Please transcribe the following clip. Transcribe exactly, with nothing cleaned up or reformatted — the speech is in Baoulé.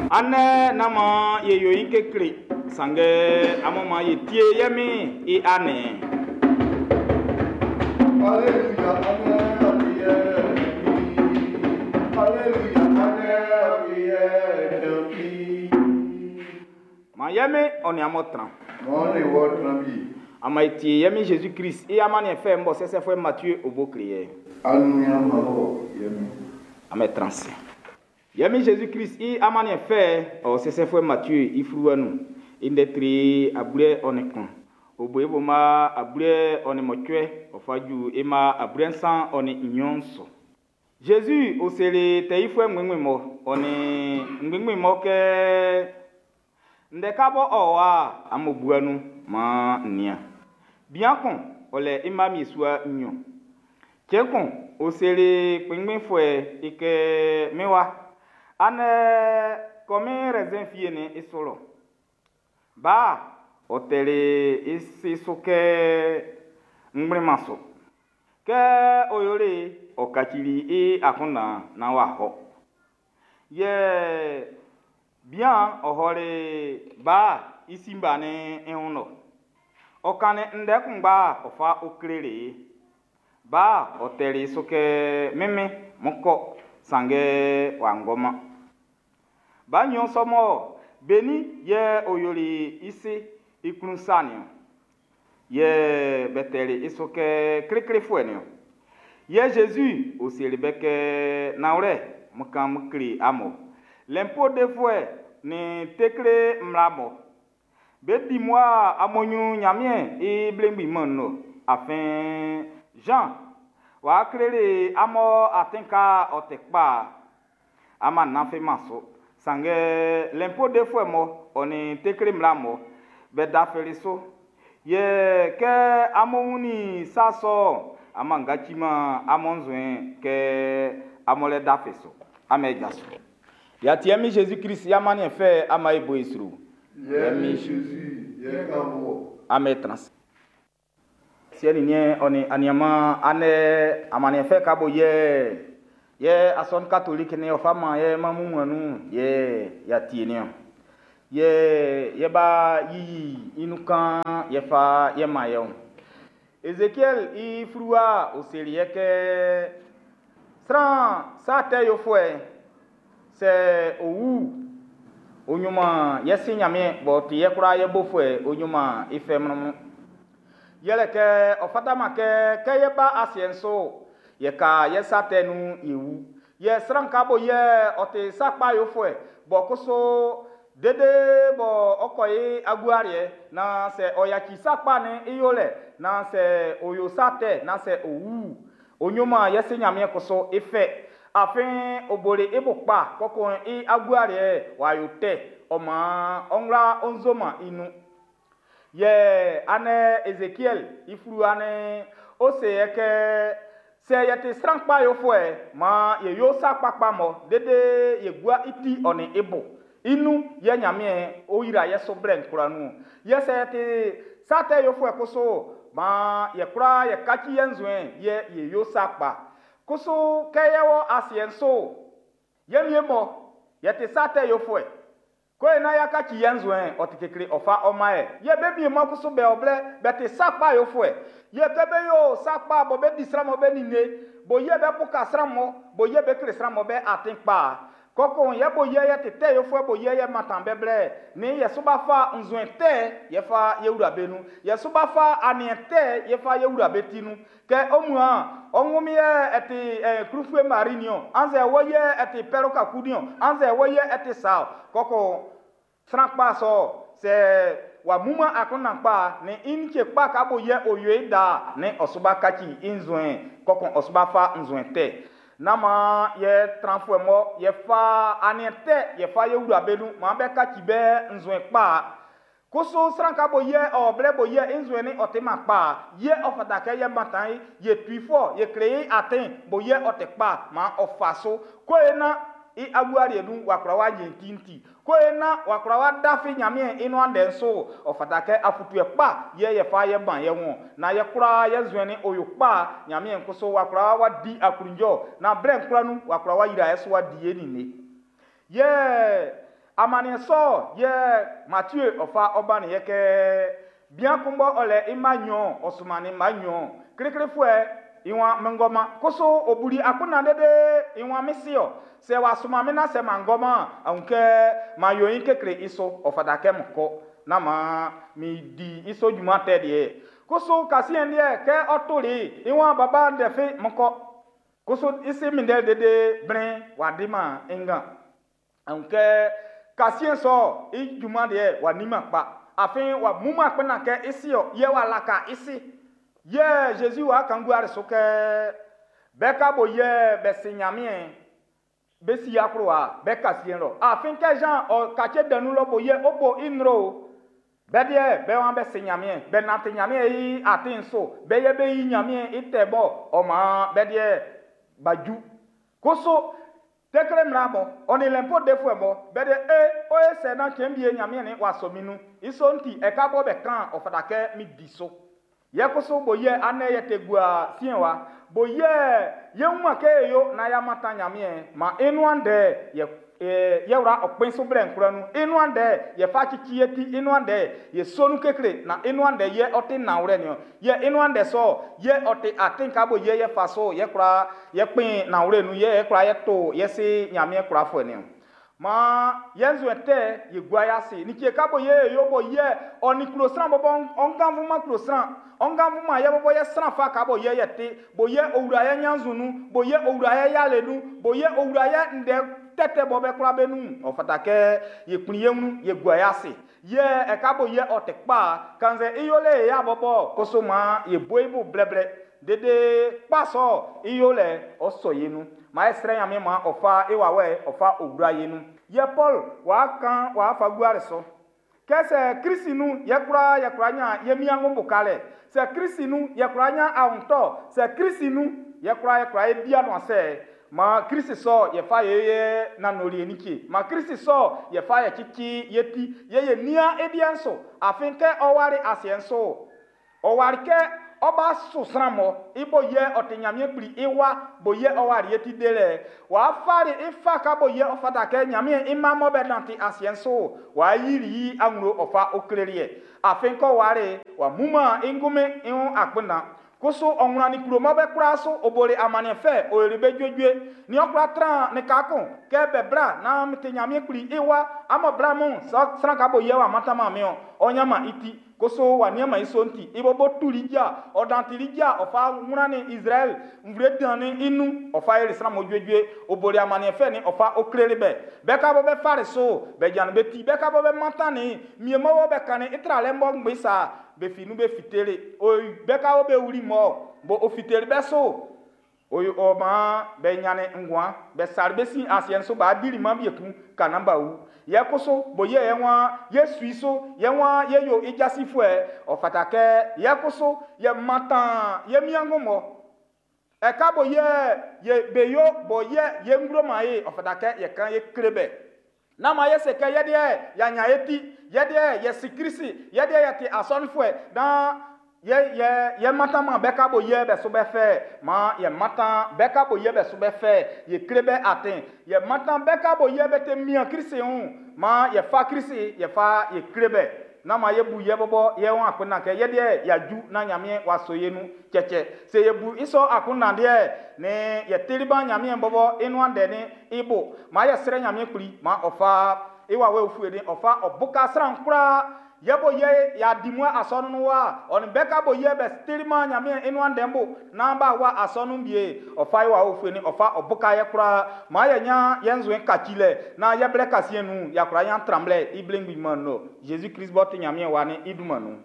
Andɛ nán maan e yo ɲin kekle, sanngɛ amun maan e tie ye Min'n i aniɛn'n. Alléluia, Amen, Alléluia, Amen, Maan ye Min'n ɔ nin amun tran. Maan e wɔ tran bi. Amun e tie ye Min Jésus Christ i amanniɛn fɛ'n bɔ sɛsɛfuɛ Matthieu o bo kle ye. Anuya mabɔ yɛmi. Amun tran se. Ye Min Jésus Christ i amanniɛn fɛ'n ɔ sɛsɛfuɛ Matthieu i fluwa nun. I ndɛ tre ableɛ ɔ nin kun. O bo i bo ma ableɛ ɔ nin mɔcuɛ ɔ fa ju i ma ableɛ nsan ɔ nin nnyɔn su. Jésus o seli tɛ yifuɛ ngbɛngbɛn mɔ ɔ nin ngbɛngbɛn mɔ kɛ ndɛ ka bɔ ɔ wa amun bua nun maan n nian. Bian kun ɔ lɛ i mma miesua nnyɔn. Cɛn kun ɔ seli kpɛnngbɛnfuɛ i kɛ min wa, andɛ kɔ min raisin fie'n i su lɔ. Ba ɔ tɛli i si su kɛ n kplinman su. Kɛ ɔ yoli ɔ kacili i akunndan naan w'a hɔ. Yɛ bian ɔ ɔli ba i si ba'n i wun lɔ. Ɔ kannin ndɛ kunngba ɔ fa kleli i. Ba ɔ tɛli i su kɛ min min, n kɔ, sanngɛ w'a ngɔman. Ba nɲɔn sɔ mɔ be nin yɛ ɔ yoli i si i klun sa'n niɔn. Yɛ be tɛli i su kɛ kliklifuɛ'n niɔn. Yɛ Jésus ɔ seli be kɛ nanwlɛ, n kan n kle amun. Lɛnpo defuɛ nin tekle mmla mɔ be di mua amun ɲrun Ɲanmiɛn i belemgbin mɛn'n nun. Afin Jean w'a kleli amun atin ka ɔ ti kpa, amun nantiman su. Sanngɛ lɛnpo defuɛ mɔ ɔ nin tekle mmla mɔ be dafili su. Yɛ kɛ amun wunnin sa sɔ'n, amun kaciman amun nzuɛn'n kɛ amun lɛ dafi su. Amen jaso. Y'a tie mi Jésus Christ i amanniɛn fɛ ama e bo i sro. Yɛmi Jésus yɛ kan wɔ. Amen trans. Siɛ nin niɛn ɔ nin aniaman andɛ amanniɛn fɛ ka bo yɛ yɛ asɔnun katoliki ni ɔ fa man yɛ ma mu nun yɛ y'a tie niɔn. Yɛ yɛ ba yiyi i nun kan yɛ fa yɛ man yɛ o. Ezekiel i fluwa o seli yɛ kɛ sran sa tɛ yofuɛ sɛ owu onyuma yɛ si Ɲanmiɛn b'ɔ ti yɛ kwlaa yɛ bofuɛ onyuma i fɛ mlɔnmlɔn. Yɛlɛ kɛ ɔ fataman kɛ kɛ yɛ ba asiɛ'n so yɛ ka yɛ sa tɛ nun yɛ wu. Yɛ sran ka bo yɛ ɔ ti sa kpa yofuɛ bɔ kusu dede bɔ ɔ kɔ i agualiɛ na sɛ ɔ yaci sa kpa ni i yolɛ na sɛ ɔ yo sa tɛ na sɛ ɔ wu onyuma yɛ si Ɲanmiɛn kusu i fɛ. Afin ɔ boli i bo kpa kɔkɔ'n i agualiɛ w'a yo tɛ ɔ maan ɔ wla ɔ nzoman i nun. Yɛ andɛ Ezekiel i fluwa ni o se yɛ kɛ sɛ yɛ ti sran kpa yofuɛ maan yɛ yo sa kpakpa mɔ dede yɛ gua i ti ɔ nin i bo. I nun yɛ Ɲanmiɛn o yira yɛ so blɛ nkura nun. Yɛ sɛ yɛ ti sa tɛ yofuɛ kusu maan yɛ kwla yɛ kaci yɛ nzuɛn yɛ yɛ yo sa kpa. Kusu kɛ yɛ wɔ asiɛ'n so yɛ mie mɔ yɛ ti sa tɛ yofuɛ. Ko na ya kaci yɛ nzuɛn ɔ ti kekle ɔ fa ɔma yɛ. Yɛ be mie mɔ kusu bɛ ɔblɛ bɛ ti sa kpa yofuɛ. Yɛ kɛ be yo sa kpa bɔ be di sran mɔ be ninnge bo yɛ bɛ buka sran mɔ bo yɛ be kle sran mɔ bɛ atin kpa. Kɔkɔn yɛ bo yɛ yɛ ti tɛ yofuɛ bo yɛ yɛ mantan bɛ blɛ ni yɛ so ba fa nzuɛn tɛ yɛ fa yɛ wura be nun. Yɛ so ba fa aniɛn tɛ yɛ fa yɛ wura be ti nun. Kɛ o mua ɔ ŋumi yɛ ɛti ɛ kurufue mari niɔ anzɛ wɔ yɛ ɛti pɛro kaku niɔ anzɛ wɔ yɛ ɛti sa kɔkɔ sran kpa sɔ sɛ wa muma akunndan kpa ni i ni tse kpa ka bo yɛ o yoe da ni ɔsuba kaci i nzuɛn kɔkɔ ɔsuba fa nzuɛn tɛ. Nama yɛ tranfuɛ mɔ yɛ fa aniɛn tɛ yɛ fa yɛ wura be nun maa bɛ kaci bɛ nzuɛn kpa. Kusu sran ka bo yɛ ɔ blɛ bo yɛ i nzuɛn ni ɔ ti ma kpa yɛ ɔ fata kɛ yɛ mantan yi yɛ tui fɔ yɛ kle i atin bo yɛ ɔ ti kpa maa ɔ fa so. Ko ye na i agualiɛ nun wa kura wa nye tinti. Ko ye na wa kura wa dafi Ɲanmiɛn i nuan ndɛ'n so ɔ fata kɛ afutuɛ kpa yɛ yɛ fa yɛ ban yɛ wɔn na yɛ kura yɛ nzuɛn ni oyo kpa Ɲanmiɛn kusu wa kura wa di aklunjɔ na blɛ nkura nun wa kura wa yira yɛ so wa di yɛ ninie. Yɛ Amaniɛn sɔ yɛ Matthieu ɔ fa ɔba ni yɛ kɛ bian kun bɔ ɔ lɛ i mma nnyɔn, ɔ sunmannin mma nnyɔn. Kliklifuɛ i waan min ngɔma. Kusu ɔ buli akunndan dede i waan min si ɔ. Sɛ w'a sunman min na sɛ m'an ngɔman, a wun kɛ m'an yo i kekle i su, ɔ fata kɛ min kɔ. Na maan mi di i sɔ junman tɛ deɛ. Kusu kasiɛn deɛ kɛ ɔ toli i waan baba ndɛ fi min kɔ. Kusu i si minndɛ dede blɛ'n w'a diman i ngan. A wun kɛ kasiɛn sɔ i junman deɛ w'a niman kpa. Afin w'a buman kpɛnna kɛ i si ɔ, yɛ w'a laka i si. Yɛ Jésus w'a kan gua su kɛ bɛ ka bo yɛ bɛ si Nyanmiɛn, bɛ si akplowa, bɛ kasiɛn lɔ. Afin kɛ Jean ɔ kace danu lɔ bo yɛ ɔ bo i nro. Bɛ deɛ bɛ waan bɛ si Nyanmiɛn, bɛ nante Nyanmiɛn i atin so, bɛ yɛ bɛ yi Nyanmiɛn i tɛ bɔ, ɔ maan bɛ deɛ ba ju. Kusu tekle mmla bɔ, ɔ nin lɛnpo defuɛ bɔ, bɛ deɛ e, o ye sɛ na cɛn bie Nyanmiɛn ni wa sɔ mi nun. I sɔ'n ti, ɛka bɔ bɛ kan, ɔ fata kɛ mi di so. Yɛ kusu bo yɛ anɛ yɛ te gua siɛn wa. Bo yɛ yɛ wuma kɛ e yo na ya mata Nyanmiɛn, ma e nuan dɛ yɛ, e, yɛ wura ɔkpɛn so blɛ nkura nu. E nuan dɛ yɛ fa cici yɛ ti, e nuan dɛ yɛ sonu kekle na e nuan dɛ yɛ ɔte nawlɛ niɔ. Yɛ e nuan dɛ sɔ, yɛ ɔte atin ka bo yɛ yɛ fa so, yɛ kura yɛ kpɛn nawlɛ nu, yɛ yɛ kura yɛ to, yɛ se Nyanmiɛn kura fuɛ niɔ. Ma yɛ nzue tɛ yɛ gua ya se. Ni tie ka bo yɛ yo bo yɛ ɔni kulo sran bɔbɔ ɔngan fuma kulo sran. Ɔngan fuma yɛ bɔbɔ yɛ sran fa ka bo yɛ yɛ te. Bo yɛ owura yɛ nyanzu nu. Bo yɛ owura yɛ yale nu. Bo yɛ owura yɛ ndɛ tɛtɛ bɔ bɛ kura bɛ nu. Ɔ fata kɛ yɛ kpli yɛ ŋu yɛ gua ya se. Yɛ ɛka bo yɛ ɔtɛ kpa. Kanzɛ iyole ya bɔbɔ koso ma yɛ bo ibu blɛblɛ. Dede kpasɔ iyole ɔsɔ yɛ nu. Ma yɛ srɛ nyame ma ɔfa ewawɛ ɔfa owura yɛ nu. Yɛ Paul wa kan wa fa gua so. Kɛsɛ Kristi nu yɛ kura yɛ kura nya yɛ miango bukalɛ. Sɛ Kristi nu yɛ kura nya awuntɔ. Sɛ Kristi nu yɛ kura yɛ kura yɛ bia no asɛ. Ma Kristi sɔ yɛ fa yɛ yɛ nanori enike. Ma Kristi sɔ yɛ fa yɛ tsitsi yɛ ti yɛ yɛ nia ediɛ nso. Afin kɛ ɔwari asiɛ nso. Ɔwari kɛ ɔba so sran mɔ ibo yɛ ɔte Nyame kpli iwa bo yɛ ɔwari yɛ ti de lɛ. Wa fari ifa ka bo yɛ ɔfata kɛ Nyame ima mɔ bɛ nante asiɛ nso. Wa yiri yi aŋlo ɔfa okleli yɛ. Afin kɔ wari wa muma ingume ihun akpena. Koso ɔŋlɔ ni kuro mɔ bɛ kura so obole amaniɛ fɛ oyere bɛ dzoedzoe. Ni ɔkura tran ni kakun kɛ bɛ bla na te Nyame kpli iwa amɔ bla mu sɔ sran ka bo yɛ wa matama miɔ ɔnyama iti. Koso wa niama iso nti ibo bo tuli dza ɔdantili dza ɔfa ŋuna ni Israel nvle dan ni inu ɔfa yɛlɛ sran mo dzoedzoe obole amaniɛ fɛ ni ɔfa okleli bɛ. Bɛ ka bɔ bɛ fari so bɛ dzani bɛ ti bɛ ka bɔ bɛ mata ni miemɔwɔ bɛ kani itra lɛ mbɔ ŋgbe sa bɛ fi nu bɛ fitele o bɛ ka bɔ bɛ wuli mɔ bo o fitele bɛ so o ɔma bɛ nyane ŋgua bɛ sari bɛ si asiɛ so ba dili ma bie kun kana ba wu. Yɛ koso bo yɛ yɛ wa yɛ sui so yɛ wa yɛ yo idzasi fuɛ ɔfata kɛ yɛ koso yɛ matan yɛ miango mɔ. Ɛka bo yɛ yɛ be yo bo yɛ yɛ ŋglo ma ye ɔfata kɛ yɛ kan yɛ kle bɛ. Nama yɛ se kɛ yɛ deɛ yɛ nya yɛ ti yɛ deɛ yɛ si Kristi yɛ deɛ yɛ ti asɔnifuɛ dan yɛ yɛ yɛ matan ma bɛ ka bo yɛ bɛ so bɛ fɛ ma yɛ matan bɛ ka bo yɛ bɛ so bɛ fɛ yɛ kle bɛ atin yɛ matan bɛ ka bo yɛ bɛ te mia Kristi ŋu ma yɛ fa Kristi yɛ fa yɛ kle bɛ. Nama yɛ bu yɛ bɔbɔ yɛ wɔn akpena kɛ yɛ deɛ yɛ na Nyame wa so yɛ nu tsɛtsɛ se yɛ bu isɔ akuna deɛ ne yɛ teliba Nyame bɔbɔ enua dɛ ne ibo ma yɛ srɛ Nyame kpli ma ɔfa ewa wɛ ofue de ɔfa ɔbuka sran kura yɛ bo yɛ ya di mu asɔnu wa ɔni bɛ ka bo yɛ bɛ telima Nyame enua dɛ bo n'an ba wa asɔnu bie ɔfa ewa ofue ne ɔfa ɔbuka yɛ kura ma yɛ nya yɛ nzoe katsi lɛ na yɛ blɛ kasie nu yakura nya tramblɛ iblen gbi ma nɔ Jésus Christ bɔ te Nyame wa ne iduma nu.